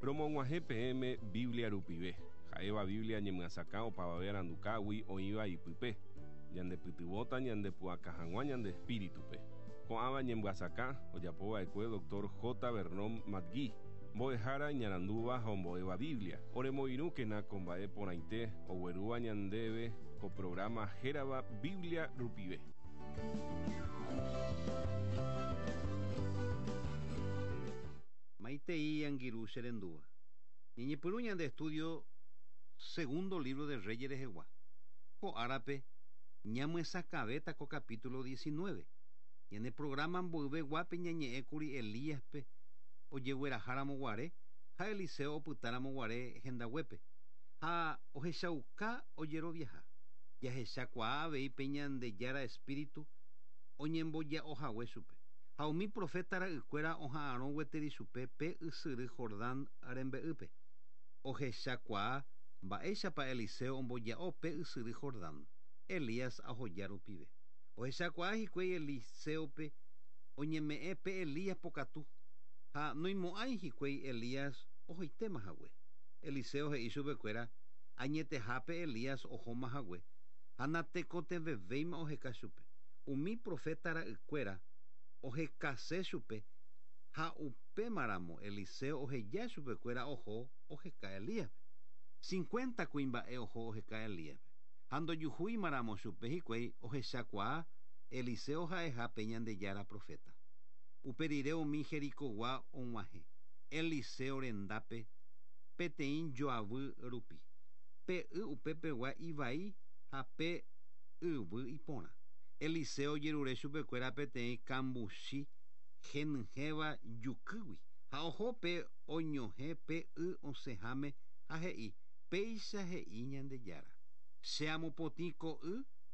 Romog̃uahẽ peẽme Biblia rupive, ha'éva Biblia ñemyasakã opavave arandukágui oĩva ipype, ñandepytyvõta ñandepu'aka hag̃ua ñande espíritupe. Ko'ãva ñemyasakã ojapova'ekue Dr. J. Vernon McGee, mbo'ehára iñarandúva ha ombo'éva Biblia. Oremoirũkena ko mba'e porãite oguerúva ñandéve ko programa hérava Biblia rupive. Maitei angirũ che rendúva. Ñañepyrũ ñande estudio segundo libro de Reyes rehegua. Ko árape ñamyesakãvéta ko capítulo 19. Ñane programa mboyveguápe ñañe'ẽkuri Elíaspe ojegueraháramo guare ha Eliseo opytáramo guare hendaguépe ha ohechauka ojeroviaha. Jahechakuaa avei pe Ñandejára espíritu oñemboja'ohague chupe. Ha umi profeta ra'ykuéra oha'arõ gueteri chupe pe ysyry Jordán rembe'ýpe. Ohechakuaa mba'éichapa Eliseo omboja'o pe ysyry Jordán, Elías ahoja rupive. Ohechakuaa hikuái Eliseope oñeme'ẽ pe Elías pokatu ha noimo'ãi hikuái Elías ohoitéma hague. Eliseo he'i chupekuéra añetehápe Elías ohóma hague ha natekotevẽvéima oheka chupe. Umi profeta ra'ykuéra ohekase chupe ha upémaramo Eliseo oheja chupekuéra oho oheka Elíaspe. 50 kuimba'e oho oheka Elíaspe. Ha ndojuhúimaramo chupe hikuái ohechakuaa Eliseo ha'eha pe Ñandejára profeta. Upe rire umi Jericogua og̃uahẽ. Eliseo rendápe peteĩ joavy rupi. Pe y upepegua ivai ha pe yvy iporã. Eliseo ojerure chupekuéra peteĩ kambuchi henyhẽva jukýgui ha oho pe oñohẽ pe y osẽháme ha he'i péicha he'i Ñandejára. Che amopotĩ ko y.